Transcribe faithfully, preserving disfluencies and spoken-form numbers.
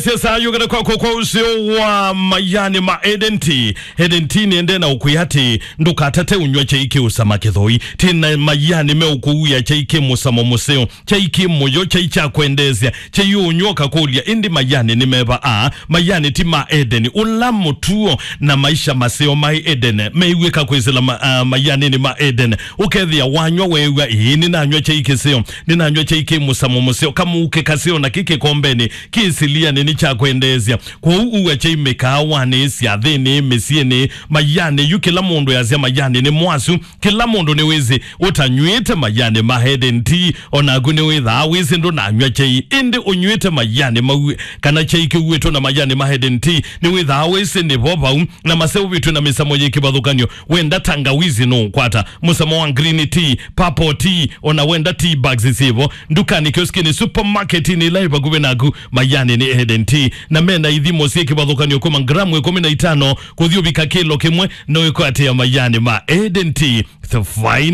Sesa yũkĩte kwakwa kwa ũseo wa mayani ma Eden Tea. Eden Tea nĩendee na ũkwĩa atĩ ndũkatate ũnyw'a kyai kĩũsama kĩthoi. Tĩ na mayani meũkũuya kyai kĩ mũsamo mũseo, kyai kĩ mũyo, kyai kya kwendeesya, kyai ũnyw'a ũkakũlya, ĩndĩ mayani nĩ meva aa? Mayani ti ma Eden. Ũla mũtuo na maisha maseo maĩ Eden meiw'ĩka kwĩsĩla ma, uh, mayanĩnĩ ma Eden. Ũkethĩa wanyw'a weew'a, ĩĩ, nĩnanyw'a kyai kĩseo, nĩnanyw'a kyai kĩ mũsamo mũseo, kamũuke kaseo na kĩ kĩkombenĩ, kĩ silianĩ nĩ kya kwendeesya. Kwoou uwa kyai mĩkaawanĩ, syathĩnĩ, mĩsyĩnĩ, mayanĩ. Yu kĩla mũndũ easya mayanĩ nĩ mwasu. Kĩla mũndũ nĩwĩsĩ ũtanyw'ĩte mayanĩ ma Eden Tea, o naku nĩwĩthaa wĩsĩ ndũnanyw'a kyai. Ĩndĩ ũnyw'ĩte mayanĩ mau, kana kyai kĩuĩtwe na mayanĩ ma Eden Tea, nĩwĩthaa wĩsĩ nĩvo vau, na maseũvĩtw'e na mĩsamo yĩ kĩvathũkany'o. Wenda tangawizi nũũkwata, mũsamo wa green tea, purple tea, o na wenda tea bags syĩvo ndukanĩ, kioskiinĩ, supermarketinĩ ĩla ĩ vakuvĩ naku. Mayanĩ nĩ Eden Tea, na mena ithimo syĩ kĩvathũkany'o kuma ngramu ĩkũmi na itano kũthi ũvika kĩlo kĩmwe. No ĩkwatĩa mayanĩ ma Eden Tea, the fine